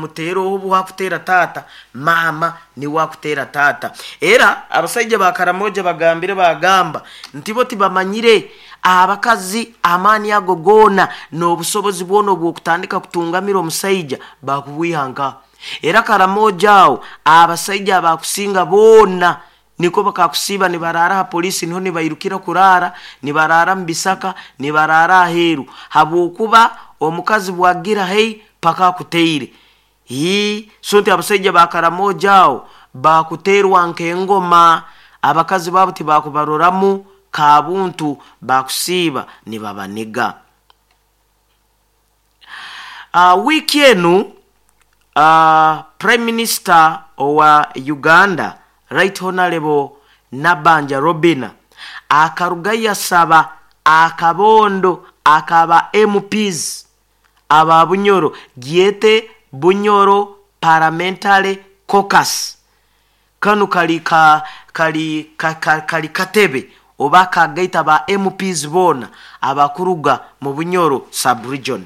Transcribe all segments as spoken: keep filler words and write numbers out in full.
Muteera obu wakutera taata, maama niwe akutera taata. Era abasaija ba Karamoja bagambire, bagamba nti bo tibamanyire abakazi amaani ago goona n'obusobozi bwona obw'okutandika kutungamira omusaija bakubwiha nka. Era Karamoja awo abasaija abakusinga boona niko bakakusiiba nibaraara ha polisi, niho nibairukira kuraara, nibaraara mu bisaka, nibaraara aheeru, habwokuba omukazi bwagira hei paka akuteire. Ii so nti abasaija ba Karamoja awo bakuteerwa nk'engoma, abakazi baabo tibakubaroramu kabuntu, bakusiiba nibabaniga. uh, wiiki enu uh, Prime Minister owa Uganda, Right Honorable Nabanja Robina, akaruga yasaba akabondo akaba M Ps aba Bunyoro, gyete Bunyoro Parliamentary Caucus. Kanu kali ka, kali ka, ka, kali katebe oba kagaita ba M Ps boona abakuruga mu Bunyoro subregion.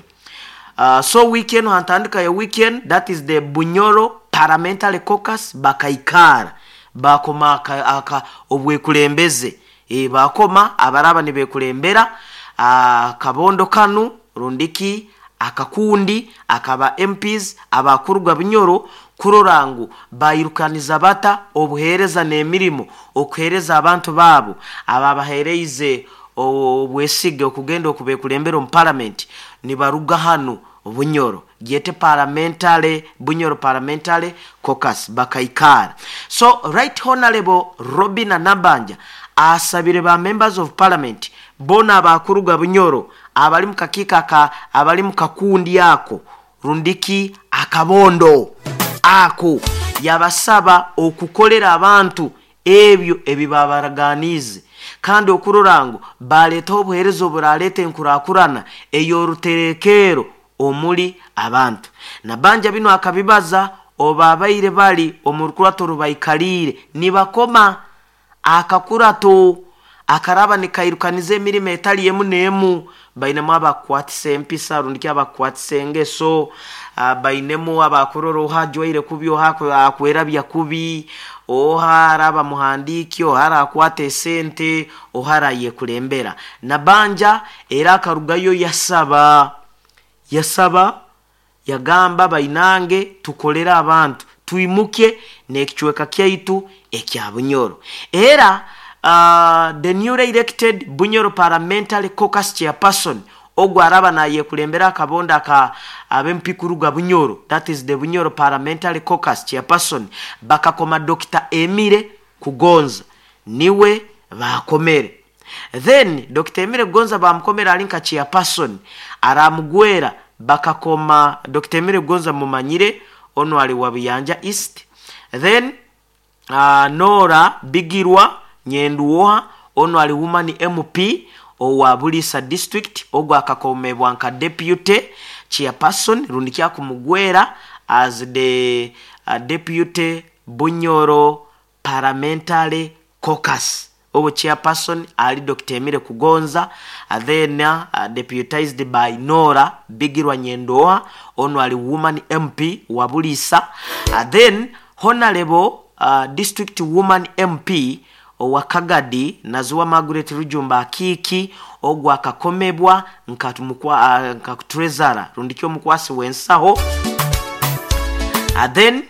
uh, so weekend, hantandika ya weekend, that is the Bunyoro Parliamentary Caucus, bakaikara bakoma aka, aka obwekulembeze, e, bakoma abaraba nibekulembera akabondo kanu rundiki akakundi akaba M Ps abakuruga Bunyoro, kurora ngu bayirukaniza bata obuheereza n'emirimo okuheereza abantu baabo ababaheereize obwesige okugenda okubekulembera omu parliament nibaruga hanu Bunyoro, gyete parliamentary Bunyoro Parliamentary Caucus, bakaikara. So Right Honorable Robina Nabanja asabire ba members of parliament bona abakuruga Bunyoro abali mu kakiiko aka, abali mu kakundi ako rundiki akabondo ako, yabasaba okukolera abantu ebyo ebibabaraganiize, kandi okurora ngu baleetaho obuheereza oburaleeta enkurakurana ey'oruterekeero omuli abantu. Nabanja bino akabibaza obabaire bali omu rukurato rubaikaliire nibakoma akakurato akaraba nikairukaniza emirimo etali emu n'emu. Bainemu abakukwatisa empisa rundiki abakukwatisa engeso, uh, bainemu abakurora oha ajwaire kubi, oha akwerabya kubi, oha araba muhandiiki, oha arakwata esente, oha arayekulembera. Nabanja era akarugayo yasaba yasaba yagamba, "Bainange, tukolere abantu, twimuke n'ekicweka kyaitu ekya Bunyoro." Era uh, the newly elected Bunyoro Parliamentary Caucus chairperson, ogwo araba nayekulembera akabondo aka ab'M P kuruga Bunyoro, that is the Bunyoro Parliamentary Caucus chairperson, bakakoma Doctor Emire Kugonza, niwe bakomere. Then Doctor Emire Kugonza bamukomera ali nka chairperson, aramugwera bakakoma Doctor Emire Kugonza, mumanyire ono ali wa Buyanja East. Then uh, Nora Bigirwa Nyenduoha, ono ali woman M P owa Bulisa District, ogwo akakomebwa nka deputy chairperson rundi kyakumugwera as the uh, deputy Bunyoro Parliamentary Caucus. Obo chairperson ali Doctor Emire Kugonza, uh, then uh, deputized by Nora Bigirwa Nyendoa, ono ali woman M P wa Bulisa. uh, then honorable uh, district woman M P owa Kagadi, Naziwa Margaret Rujumba Akiiki, ogwo akakomebwa nka, uh, nka treasurer rundiki omukwasi w'ensaho. uh, then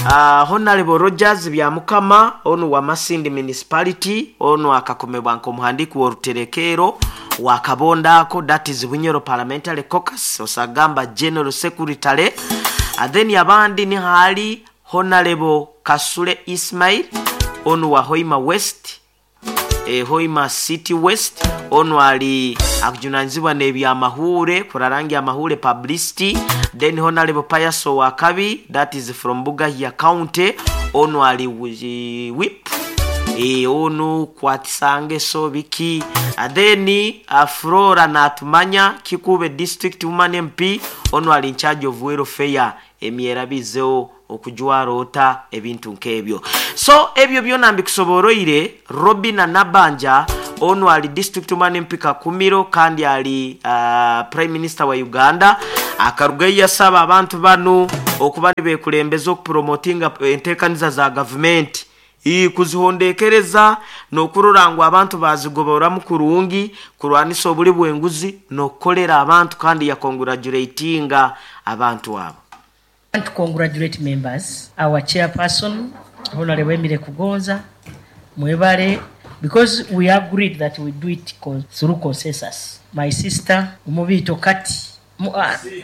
uh, Honorable Rogers Byamukama, ono wa Masindi Municipality, ono akakomebwa nk'omuhandiiki w'oruterekeero wa kabondo ako, that is Bunyoro Parliamentary Caucus, osagamba general secretary. uh, then abandi ni hali Honorable Kasule Ismail, ono wa Hoima West, e, Hoima City West, ono ali akujunanizibwa n'ebyamahure, kurarangi amahure, publicity. Then Honorable Payaso Wakabi, that is from Bugahia County, ono ali whip, e, ono kwatisangeso biki. uh, then uh, Flora Natumanya, Kikube District Woman M P, ono ali in charge of welfare, emyerabizeho, okujwara ota, ebintu nk'ebyo. So ebyo byona mbikusoboroire. Robina Nabanja ono ali district woman M P Kakumiro, kandi ali uh, prime minister wa Uganda, Akarugayo yasaba abantu banu okuba nibekulembeza okupromotinga enteekaniza za gavumenti, kuzihondekereza n'okurora ngu abantu bazigoboramu kurungi, kurwanisa obuli bw'enguzi n'okukolera abantu, kandi yakongratulatinga abantu abo. I want to congratulate members, our chairperson, Honorable Emile Kugonza, Mwebale, because we agreed that we do it con through consensus. My sister, Umubito Kati,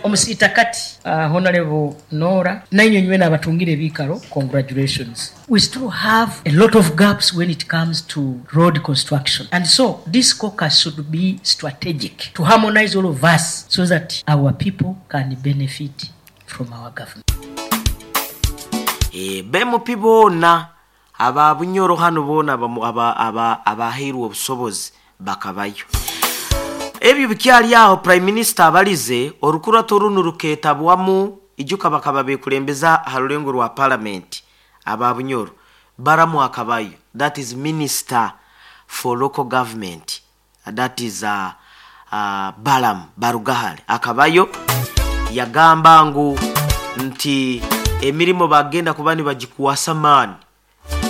Omusita Kati, uh, Honorable Nora, nainywe nywena abatungire ebikaro, congratulations. We still have a lot of gaps when it comes to road construction. And so this caucus should be strategic to harmonize all of us so that our people can benefit from our government. E, B M P boona aba Bunyoro hano boona abaheirwe obusobozi bakabayo. Ebyo bikyali aho, Prime Minister abalize orukurato runo ruketabwamu ijuka bakaba bekulembeza ha rulengo rwa parliament. Aba Bunyoro baramu akabayo, that is Minister for Local Government, that is uh, uh, Balam Barugahale, akabayo yagamba ngu nti emirimu bagenda kuba nibagikuwasa maani,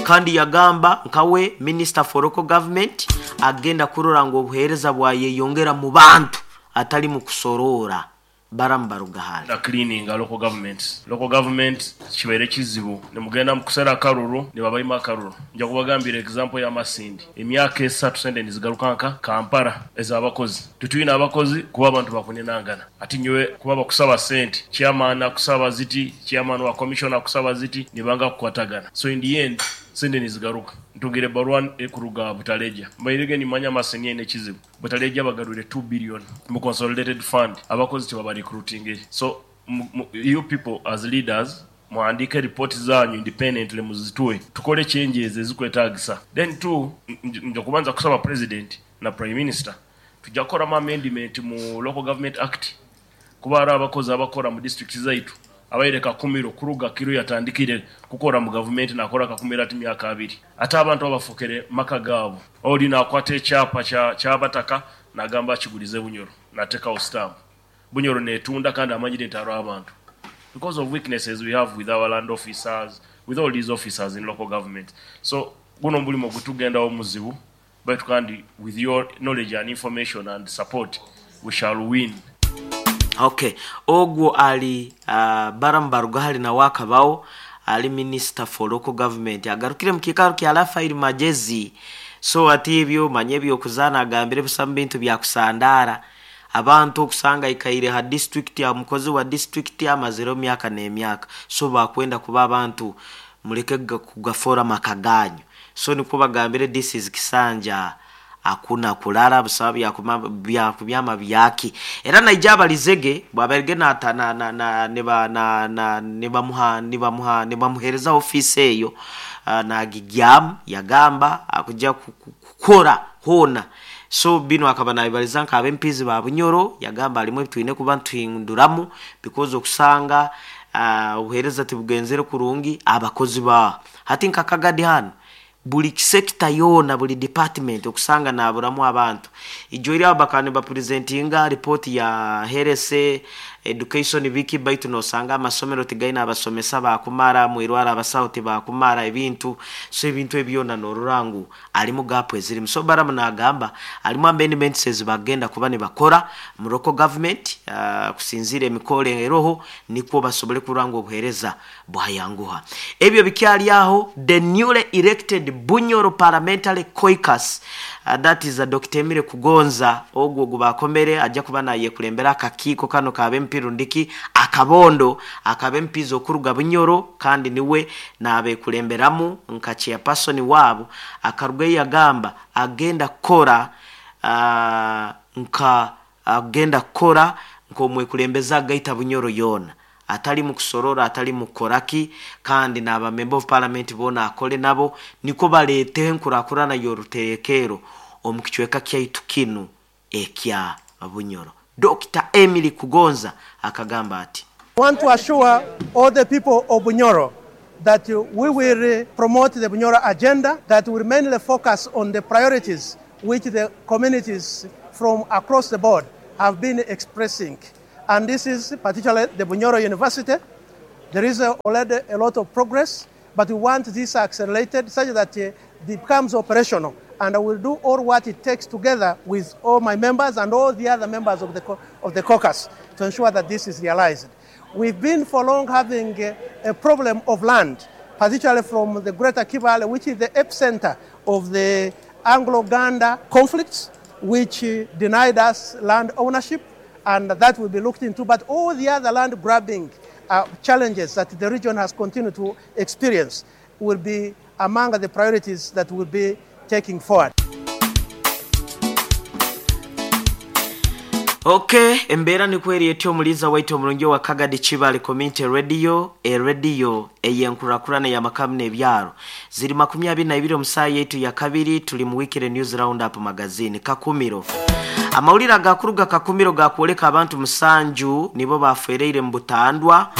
kandi yagamba nkawe Minister for Local Government agenda kurora ngu obuheereza bwayeyongera mu bantu atali mu kusorora. Baramu Barugahale. Na cleaning local government, local government kibaire kizibu, nemugenda mu kusera akaruru ne babayima akaruru. Nja kubagambira example ya Masindi, emyaka esatu sente nizigaruka nka Kampala ez'abakozi. Tutuyina abakozi kuba abantu bakunenangana ati nyowe kuba bakusaba sente, chairman akusaba ziti, chairman wa commission akusaba ziti, nibanga kukwatagana. So in the end sente nizigaruka. Ntungire barua ekuruga Butaleja, mbairege nimanya Masindi ene kizibu. Butaleja bagarure two billion mu consolidated fund, abakozi tebaba recruiting. So you people as leaders muandike report zanyu independently, muzitue, tukole changes ezikwetagisa. Then two, nja kubanza kusaba president na prime minister, tujja kukoramu amendment mu Local Government Act, kuba ari abakozi abakora mu district zaitu abaire Kakumiro kuruga kiro yatandikire kukora mu government nakora Kakumiro ati myaka abiri, ate abantu abafukere maka gaabo. Oli nakwata ekyapa kyabataka nagamba akigulize Bunyoro, natekawo stamp, Bunyoro netunda, kandi amanyire nti aro abantu, because of weaknesses we have with our land officers, with all these officers in local government. So guno omulimu gutugendawo muzibu, but kandi with your knowledge and information and support we shall win. Okay, ogwo ali uh, Baram Barugahali nawe akabawo ali Minister for Local Government, agarukire mu kiikaro kya Rafael Magezi. So ati ebyo manye ebyokuzaana agambire busamu bintu byakusandaara abantu okusanga ikaire ha district ya mukozi wa district amaziro myaka n'emyaka. So bakwenda kuba abantu muleke kugafora makaganyo. So niko bagambire, this is kisanja akuna kulala busaba bya kubyama byaki. Era naija abalizege bwaberge na na na na neba na na nebamuha nebamuha nebamuhereza office eyo, uh, na gigyam yagamba akujja kukora hona. So bino akaba nabibaliza nka abempizi ba Bunyoro, yagamba alimwe twine kuba ntwinduramu because okusanga uh, obuhereza tibugenzere kurungi abakozi ba hati nka Kagadi hano buli sector yona, buli department okusanga naburamu abantu. Ijo iri abakane ba presentinga report ya herese education biki, baitu nosanga amasomero tigaina abasomesa bakumara mwirwara, abasawo tibakumara ebintu. So ebintu ebyona norurangu alimu gap ezirimu. So Baramu nagamba alimu amendments ezibagenda kuba ne bakora mu local government, uh, kusinzira emikole eroho nikwo basobole kuranga obuhereza bwayanguha. Ebyo bikyali aho, the newly elected Bunyoro Parliamentary Caucus, uh, that is a Doctor Emile Kugonza, ogwo gubakomere ajja kuba naye kulembera akakiiko kano ka bempirundiki akabondo akabempizo okuruga Bunyoro, kandi niwe nabe kulemberamu nka chairperson wabo. Akaruga yagamba agenda kora uh, nka agenda kora nkomwe kulembeza gaita Bunyoro yona, atali mu kusorora, atali mu koraki, kandi n'aba member of parliament bona akole nabo niko balete enkurakurana yoruterekero omu kicweka kyaitu kinu ekya Bunyoro. Doctor Emily Kugonza akagamba ati, I want to assure all the people of Bunyoro that we will promote the Bunyoro agenda, that will mainly focus on the priorities which the communities from across the board have been expressing. And this is particularly the Bunyoro University. There is uh, already a lot of progress, but we want this accelerated such that uh, it becomes operational. And I will do all what it takes together with all my members and all the other members of the, of the caucus to ensure that this is realized. We've been for long having a, a problem of land, particularly from the Greater Kibale, which is the epicenter of the Anglo-Ganda conflicts, which uh, denied us land ownership, and that will be looked into. But all the other land grabbing uh, challenges that the region has continued to experience will be among the priorities that will be taking forward. Okay, embeera nikweri etyo omuliza waitu omulungi wa Kagadi Kibale Community Radio, e radio ey'enkurakurana y'amakamu n'ebyaro. Ziri makumi abiri na ibiri omusaa yaitu ya kabiri, tuli mu Weekly News Roundup Magazine. Kakumiro. Amawulire agakuruga Kakumiro gakwoleka abantu musanju nibo bafereire mu butandwa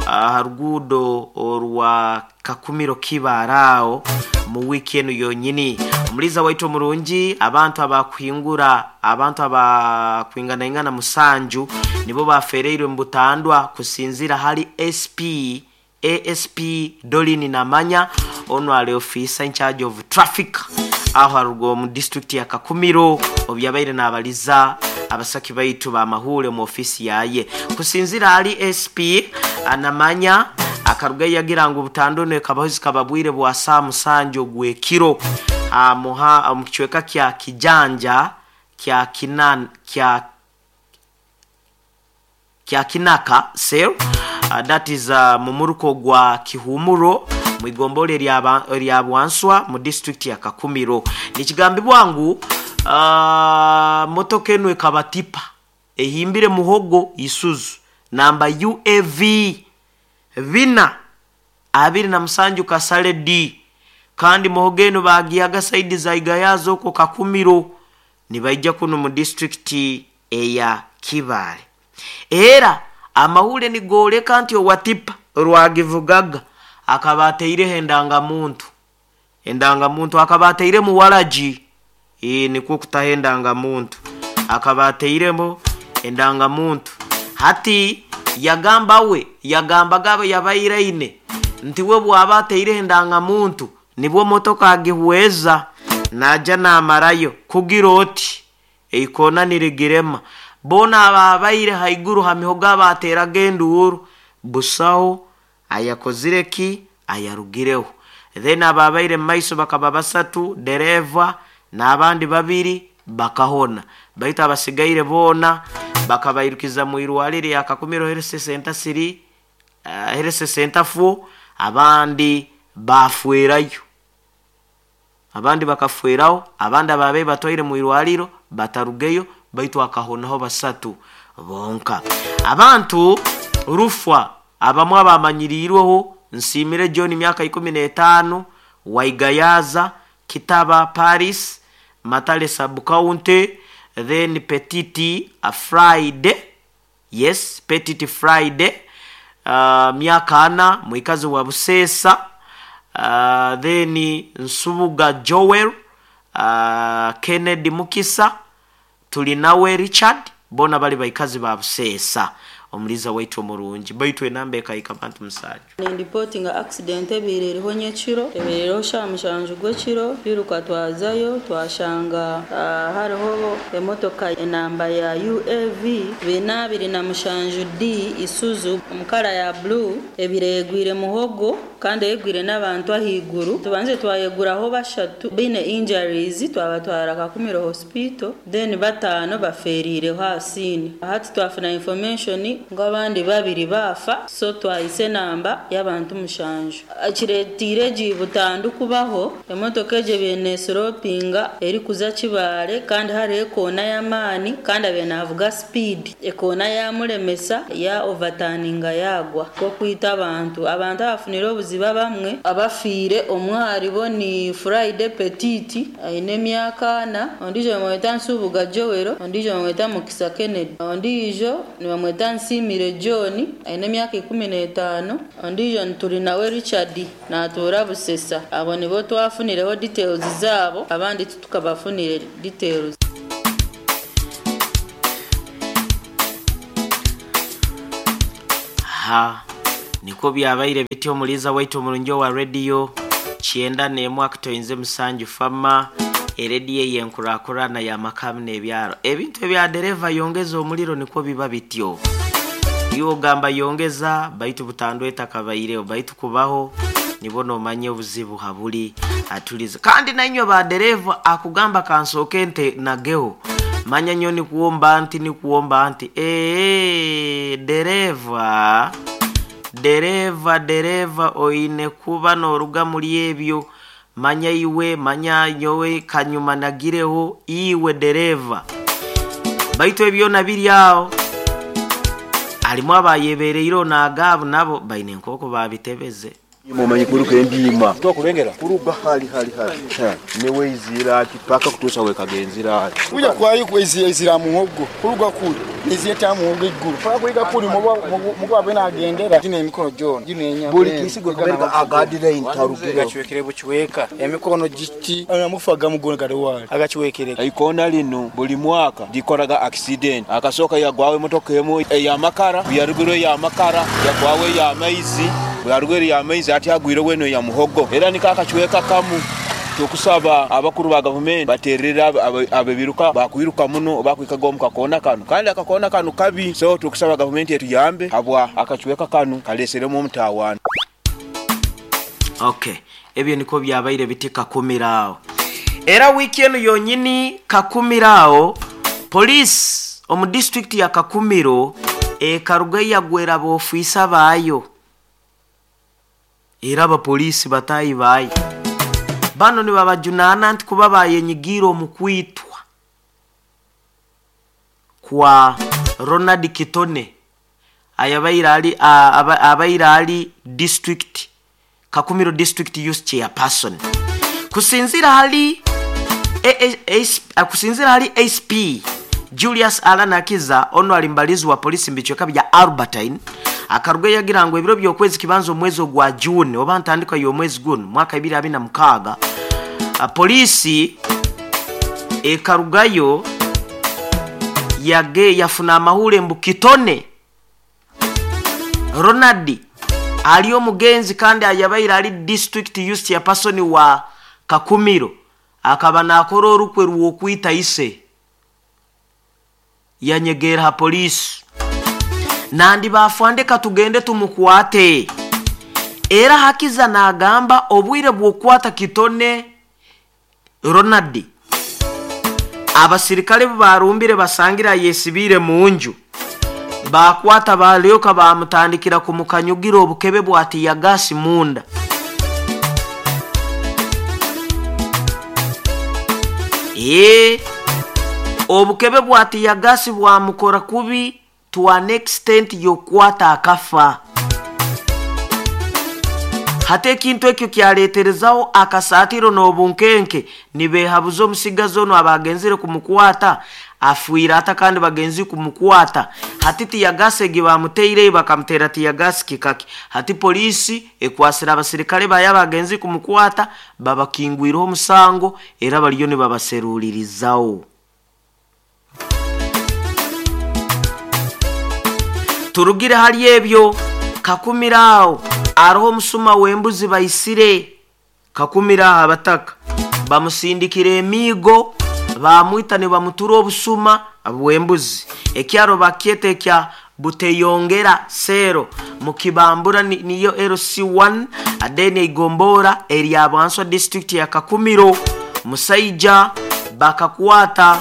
aha ruguudo orwa Kakumiro Kibarao mu wiki eno yonyini. Omuliza waitu omurungi, abantu abakwingura, abantu abakwingana musanju nibo bafereirwe mu butandwa kusinzira hali S P A S P Dolini Namanya, ono ali officer in charge of traffic aho arugo mu district ya Kakumiro, obyabaire n'abaliza abasaki baitu bamahule mu ofisi yaye. Kusinzira hali S P Anamanya akaruga yagira ngu butandone kabahozi kababwire bwa saa musanju gwekiro amuha mu kichweka kya kijanja kya kinan kya kya kinaka sel uh, that is uh, mumuruko gwa Kihumuro mwigombole lya lya Bwanswa mu district ya Kakumiro. Nikigambibwa ngu uh, motoka eno ekabatipa ehimbire muhogo Isuzu namba U A V bina abiri na musanju kasale D, kandi muhogo eno bagiyaga saidi za Igayazo ko Kakumiro nibaija kuno mu district eya Kibale. Era amahule nigoleka nti owatipa rwagivugaga akabateire endanga muntu endanga muntu akabateire mu walaji e niko kutahendanga muntu akabateiremo endanga muntu. Hati yagamba we yagamba gabe yabairaine nti we bwabateire endanga muntu nibwo motoka agihweza naja namarayo kugira oti eikona niregirema bona ababaire haiguru hamihoga bateraga enduru busaho ayakozireki ayarugireho. Then ababaire maiso bakaba basatu dereva n'abandi babiri bakahona, baita abasigaire bona bakabairukiza mu irwaliro ya Kakumiro Health Center three uh, Health Center four, abandi bafuerayo, abandi bakafueraho, abandi ababe batwaire mu irwaliro batarugeyo, baitu akahonaho basatu bonka. Abantu rufwa abamwe abamanyirirweho Nsimire John myaka ikumi n'etaano Waigayaza Kitaba Paris Matale sub county, then Petiti a Friday, yes Petiti Friday uh, myaka ana mwikazi wa Busesa, uh, then Nsubuga Joel, uh, Kennedy Mukisa, Tulinawe Richard, bona bali baikazi ba Busesa. Omuliza waitu omurungi baitu enamba ekaika bantu musajja. Ndi accident ebiriho nyekiro ebiriho shamushanju gwekiro biruka twazayo twashanga uh, hariho emotoka enamba ya U A V bina abiri na mushanju D Isuzu omukara ya blue ebiregwire muhogo kandi egwire n'abantu ahiguru tubanze twayeguraho bashatu bine injuries twabatwara Kakumiro hospital then batano baferire hasini hati twafuna information ngo abandi babiri bafa so twahise namba y'abantu mushanju akiretire jibutandu kubaho emotoka eje bene slopinga eri kuza Kibale kandi hari ekona y'amani kandi abene avuga speed ekona yamulemesa ya overturninga yagwa ko kwita abantu abantu abafunira obuziba bamwe abafire omwari bo ni Friday Petiti aine emyaka ana ondijo bamweta Nsubuga Joel ondijo bamweta Mukisa Kennedy ondijo ni bamweta Nsimire John aine emyaka ikumi n'etaano ondijo Nturinawe Richard natura Busesa. Abo nibo twafunireho details zabo abandi tukabafunire details. Ha niko byabaire bityo omuliza waitu omurungi wa radio kyenda n'emu akutoinze musanju fama erediyo eyenkurakurana ya makamu n'ebyaro. Ebintu ebya dereva yongeza omuliro nikwo biba bityo. Iyo ogamba yongeza baitu butandwe etakabaireho baitu kubaho nibona omanye obuzibu habuli atulize. Kandi nainywe ba dereva akugamba kansooke nte nageho manya nyo nikuomba nti nikuomba nti ee dereva dereva dereva oine kuba noruga muri ebyo manya iwe manya nyowe kanyuma nagireho iwe dereva baitu ebyo nabiri aho alimu abayebereiro nagabu nabo baine nkoko babitebeze. Mumanyi kuruka endima tokurengera kuruga hali hali hali newe izira kipaka kutusa we kagenzira kuja kwayi kwezi izira muhogo kuruga kuri nizeta muhogo iguru paka kuiga kuri mugo abena agendera gine emikono jona gine enya buli kisigo kabereka agadira intarugira gachwekere buchweka emikono giti amufaga mugono gadewali agachiwekere ikona lino buli mwaka dikoraga accident akasoka yagwawe motoka emu ya makara yarugiro ya makara yagwawe ya maizi yarugiro ya maizi ati agwire weno ya muhogo era nikakachweka kamu. Tukusaba abakuru ba government baterera abebiruka bakwiruka muno bakwikaga mu kakona kanu kandi akakona kanu kabi, so tukusaba government yetu yambe habwa akachweka kanu kaleseremo omutawana. Okay, ebyo niko byabaire biti kakumirao. Era weekend yonyini kakumirao police omu district ya Kakumiro e karuga yagwera bofisa bayo era abapolisi batayi bayi bano ni babajunana nti kuba bayenyigira omukwitwa kwa Ronald Kitone ayabaira ali abaira ali district Kakumiro district youth chairperson kusinzira hali A, kusinzira hali S P Julius Alanakiza ono alimbalizi wa polisi mbichweka bya Albertine akaruga yagira ngo ebiro by'okwezi kibanzo omwezi ogwa June oba ntandika y'omwezi guno mwaka ibiri abiri na mukaaga polisi ekarugayo yage yafuna amahule mbu Kitone Ronald ali omugenzi kandi ayabaire ali district youth chairperson wa Kakumiro akaba nakora orukwe rw'okwita ise yanyegera ha polisi nandi bafande katugende tumukwate. Era hakiza nagamba obwire bw'okwata Kitone Ronald abasirikale barumbire basangira yesibire munju bakwata balyoka bamutandikira kumukanyugira obukebe bwati ya gasi munda. E obukebe bwati ya gasi bwamukora kubi to an extent yokwata akafa. Hate ekintu ekyo kyaleterezaho akasatiro n'obunkenke nibehabuza omusigazi ono abagenzire kumukwata afuira ata kandi bagenzi kumukwata hati tiyagasi egi bamuteire bakamutera tiyagasi kikaki hati polisi ekwasira abasirikale baya bagenzi kumukwata babakingwiraho omusango era baliyo nibabaserulirizaho. Turugire hali ebyo Kakumirao aroho musuma wembuzi baisire Kakumira abataka bamusindikire emigo bamwita ne bamutura obusuma bwembuzi ekyaro bakyete kya Buteyongera sero mukibambura niyo L C one adeni igombora eri Abanswa district ya Kakumiro musaija bakakwata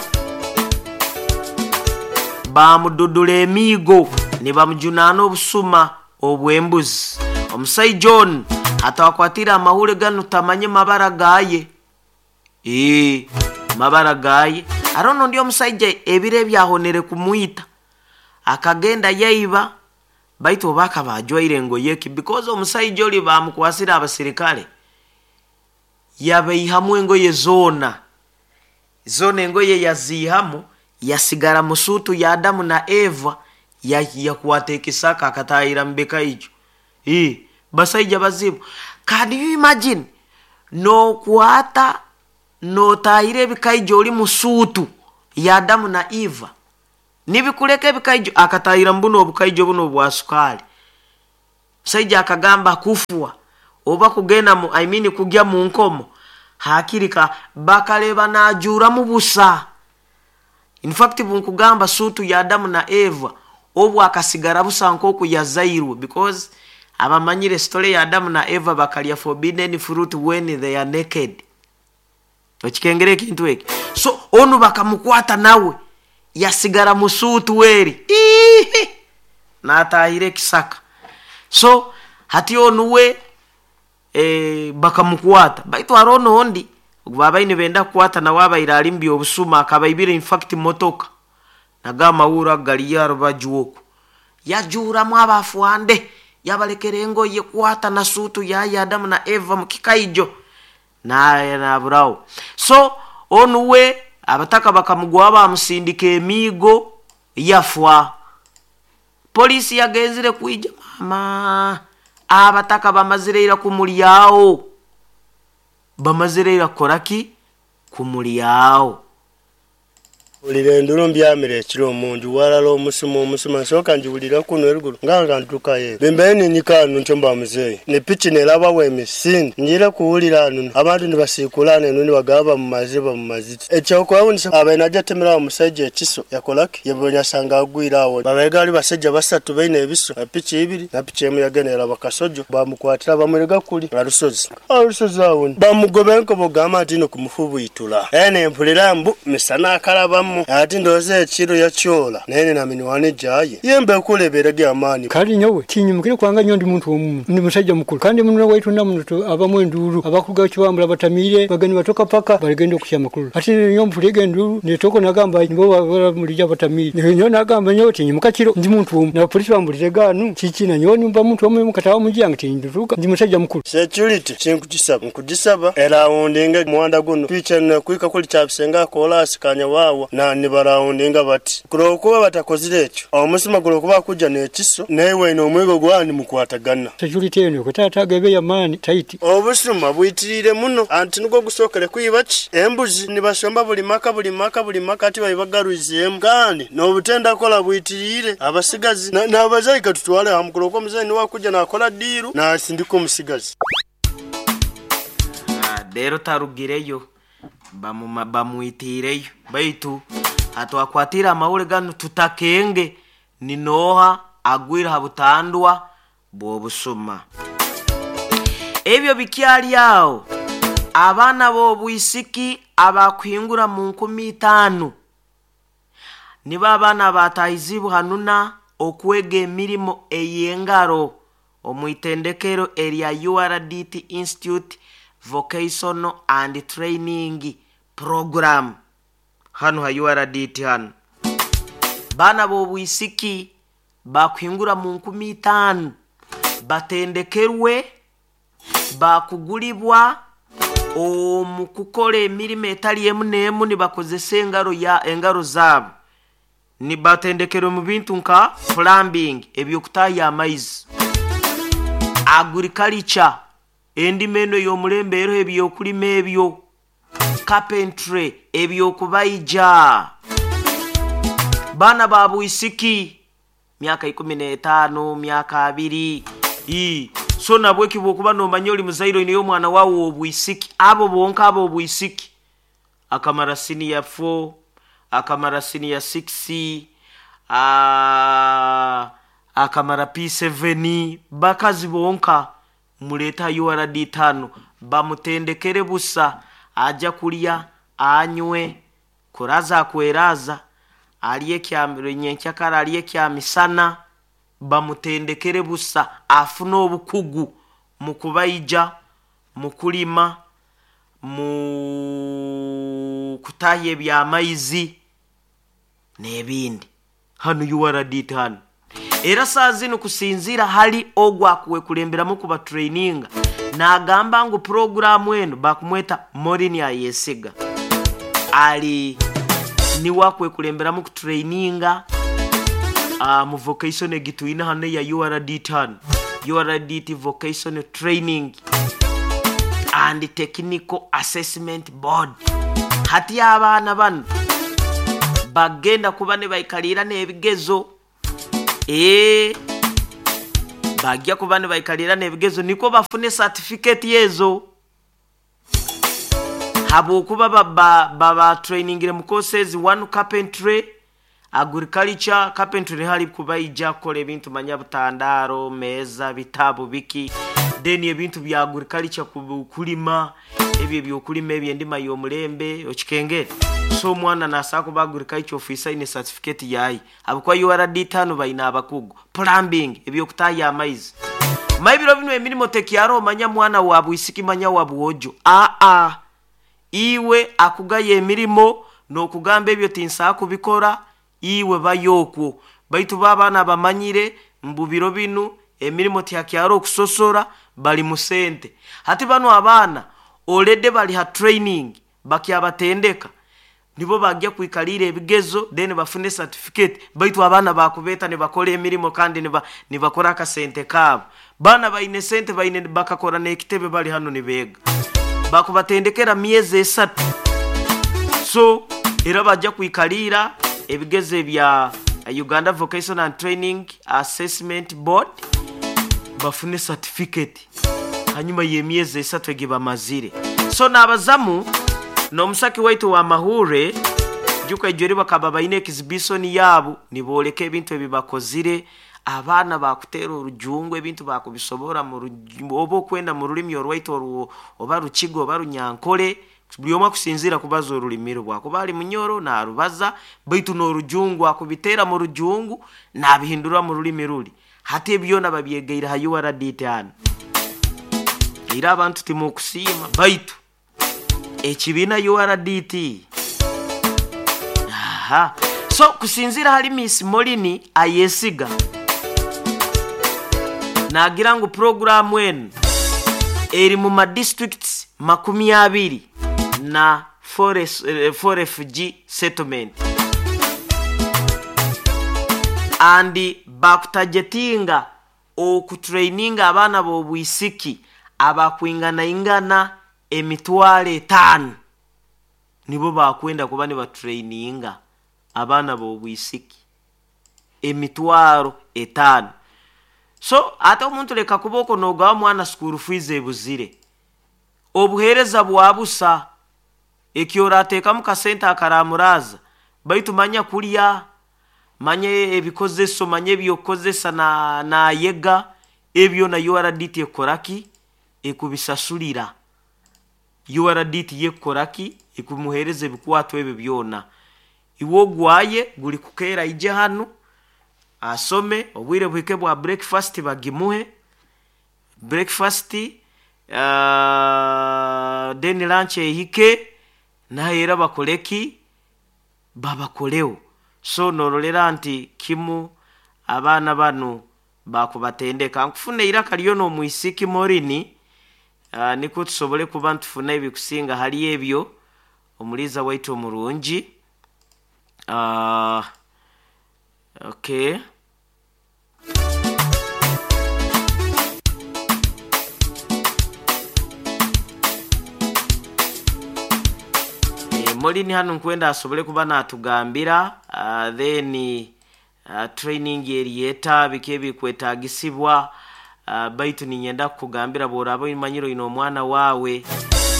bamududula emigo ne bamujunana obusuma obwembuzi. Omusai John atawakwatira amahule gano tamanye mabara gaye eh mabara gaye arono ndio omusajja ebire byahonere kumuita akagenda yaiba baitu baka bajwaire ngoyeki because omusajja oli bamukwasira abasirikale yabeihamu engoye zona zona engoye yazihamu yasigara musutu ya Adamu na Eva yakwata ekisaka akatayira mbeka ijo. Eh basaija bazibu. Can you imagine no kuata no tayire bikaijo oli musutu ya Adamu na Eva nibikuleka bikaijo akatayira mbuno obukaijo buno bwa sukali Musaija akagamba kufwa oba kugenda mu, I mean kugya mu nkomo hakirika bakaleba najuramu busa. In fact bunkugamba sutu ya Adamu na Eva obwo akasigara busa nkoku yazairwe, because abamanyire story ya Adamu na Eva bakalya forbidden fruit when they are naked. Okikengere ekintu eki. So onu bakamukwata nawe yasigara musutu weri ihi natahire kisaka. So hati onu we e, bakamukwata baitu arono ondi babaine benda kukwata nawe abaire ali mbi obusuma akabaibire in fact motoka nagamawura galiya rubajuoku yajuramu abafuande yabalekera engoye kwata na sutu ya Adamu na Eva mukikaijo naye naburawo. So onu we abataka bakamugwa bamusindika emigo yafwa. Polisi yagenzire kuija mama abataka bamazire kumulyawo, bamazire koraki kumulyawo. Ulire nduru mbyamire ekiro omunju walala omusuma omusuma nsooka njiwulira kuno eruguru nga ntuukayo bembeeni nyikaanu ntyo mba muzeeyi ne piki nerabawo emisinde njira kuwulira ano abantu nibasiikulana eno nibagaba mu maziba mu maziti ekyokwewuunyisa abaine ajja atemerawo omusajja ekiso yakolaki yebonya asanga agwire awo babaye gaali basajja basatu baine ebiso piki ibiri na piki emu yagenda eraba kasojo bamukwatira bamurega kuli alusozi alusozi awo bamugoba enkobo gamba nti ino kumufubwitula ene empulira mbu misana akalabamu ati ndoze ekiro yakyola naye na minwane jaye yembe kuleberege amaani kali nyowe kinyumukire kwanga nyo ndi muntu omu ndi musajja mukulu kandi muno waitu namuntu abamu enduru abakuga kiwambula batamire bageni batoka paka baligenda okushya makulu ati nyo mpulege enduru netoko nagamba nibo babara mulija batamire nyo nagamba nyo kinyumuka kiro ndi muntu omu na polisi bambulire ganu kiki na nyo nimba muntu omu mukatawa mujanga tinduruka ndi musajja mukulu security kinkugisaba nkugisaba era wundinga muwanda guno picha na kuika kuli kyabisenga kola asikanya wawa na nibarawundinga bati kulokuba batakozire ekyo omusima kulokuba kujja n'ekiso naye n'omwigo gwani mukwatagana security eno kutata ya maani taiti obusuma bwitirire muno anti nugwo gusookere kuyiba ki embuzi nibasomba buli maka buli maka buli maka ati babagaruzeemu kandi n'obutenda kola bwitirire abasigazi n'abazayi katutwale hamu kulokuba omuzayi niwakujja nakola diiru nasindika omusigazi. Rero tarugireyo bamwitireyo baitu atwakwatira amawule gano tutakenge ninoha agwira habutandwa bw'obusuma. Ebyo bikyali awo abaana b'obwisiki abakuhingura mu nkumi itaano nibo abaana batahizibwa hanuna okwega emirimo ey'engaro omwitendekero erya U R D T Institute Vocational and Training Program hano ha U R D T hano bana b'obwisiki bakuhingura mu nkumi itaano batendekerwe bakugulibwa omu kukola emirimo etali emu n'emu nibakozesa engaro ya engaro zaabo nibatendekerwe mu bintu nka plumbing ebyokutaya amaizi, agriculture endima eno ey'omulembe eriho ebyokulima ebyo, carpentry ebyokubaija. Baana ba bwisiki myaka ikumi n'etaano myaka abiri i so nabwe kibwokuba nomanya oli muzairo niyo omwana wawe obwisiki abo bonka abo obwisiki akamara senior four akamara senior six a akamara P seven bakazi bonka muleta U R D tano bamutendekere busa aja kulya anywe kuraza kweraza aliye kya nyenkyakara aliye kya misana bamutendekere busa afuna obukugu mu kubaija mu kulima mu kutahya ebyamaizi n'ebindi hano U R D tano. Era saa zino kusinzira hali ogwa kuwekulemberamu kuba traininga nagamba ngu programu eno bakumweta Morini Ayesiga ali ni wakwekulemberamu ku traininga uh, mu vocation egituina hano ya U R D tano U R D T Vocational Training and Technical Assessment Board. Hati abaana bano bagenda kuba ne baikalira n'ebigezo e Bajja kuba nibaikalira n'ebigezo niko bafune certificate yezo habwokuba baba baba trainingire mu courses one carpentry, agriculture. Carpentry hali kubaija kukola ebintu manya butandaro, meza, bitabu biki, then ebintu bya agriculture kulima ebyo ebyokulima ebyendima y'omulembe okikengere. So omwana nasaa kuba agriculture officer ine certificate yayi habwokuba U R D tano baina abakugu. Plumbing, ebyokutaya amaizi. Maibiro bino emirimo tekyaro manya mwana wa bwisiki manya wa bwojo a a iwe akugaye emirimo n'okugamba ebyo tinsaa kubikora iwe bayokwo. Baitu babaana bamanyire mbu biro binu emirimo tyakyaro okusosora bali musente. Hati bano abaana already bali ha training bakyabatendeka nibo bajja kwikalira ebigezo then bafune certificate. Baitu abaana bakubeta ne bakora emirimo kandi ne nibakora akasente kabo. Bana baine sente baine bakakora n'ekitebe bali hano nibega bakubatendekera myezi esatu. So era bajja kwikalira ebigezo bya Uganda Vocational and Training Assessment Board bafune certificate hanyuma y'emyezi esatu egibamazire. So n'abazamu n'omusaki waitu wa mahure juka ejori bakaba baine exhibition yabo niboleka ebintu ebibakozire. Abaana bakutera orujungu ebintu bakubisobora mu oba okwenda mu rulimi orwaitu oru oba rukigo oba runyankole buli omwe akusinzira kubaza orulimi rwa ali munyoro narubaza baitu n'orujungu akubitera mu rujungu nabihindura mu rulimi ruli. Hati ebyona babyegeire ha U R D tano. Era abantu timukusiima baitu ekibiina U R D T. Aha. So kusinzira hali Miss Molini ayesiga nagira ngu programu eno eri mu ma districts makumi abiri na four refugee settlement and bakutajetinga okutraininga abaana b'obwisiki abakwingana ingana emitwalo etaano nibo bakwenda kuba nibatraininga abaana b'obwisiki emitwalo etaano. So ate omuntu leka kuboko nogawa mwana school fees ebuzire obuhereza bwabusa ekyorateekamu kasente akaramuraza baitu manya kulya manye ebikozeso manye ebyokozesa na nayega ebyo na U R D T ekoraki ekubisasulira. U R D T yekoraki ekumuhereza ebikwato ebyo byona. Iwo gwaye guli kukera ije hano asome obwire buhike bwa breakfast bagimuhe breakfast uh, then lunch ehike nahera bakoleki babakoleo. So norolera nti kimu abaana bano bakubatendeka nkufuna iraka lyono omwisiki Morini uh, niko tusobole kuba ntufuna ebikusinga hali ebyo omuliza waitu omurungi. Uh, okay. E, Morini hano nkwenda asobole kuba natugambira uh, then uh, training eriyeta biki ebikwetagisibwa uh, baitu ninyenda kukugambira bworaba imanyiro ino omwana wawe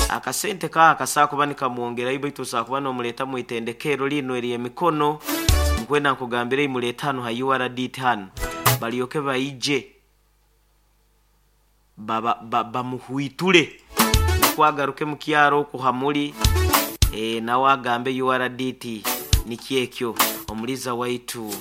akasente ka akasa kuba nikamwongerayo baitu osakuba nomuleta mu itendekero lino eri emikono nkwenda nkugambira imuleta hano ha U R D hano balyoke baije baba bamuhwiture kwagaruke mu kyaro kuhamuli e, nawe agambe U R D T nikyekyo omuliza waitu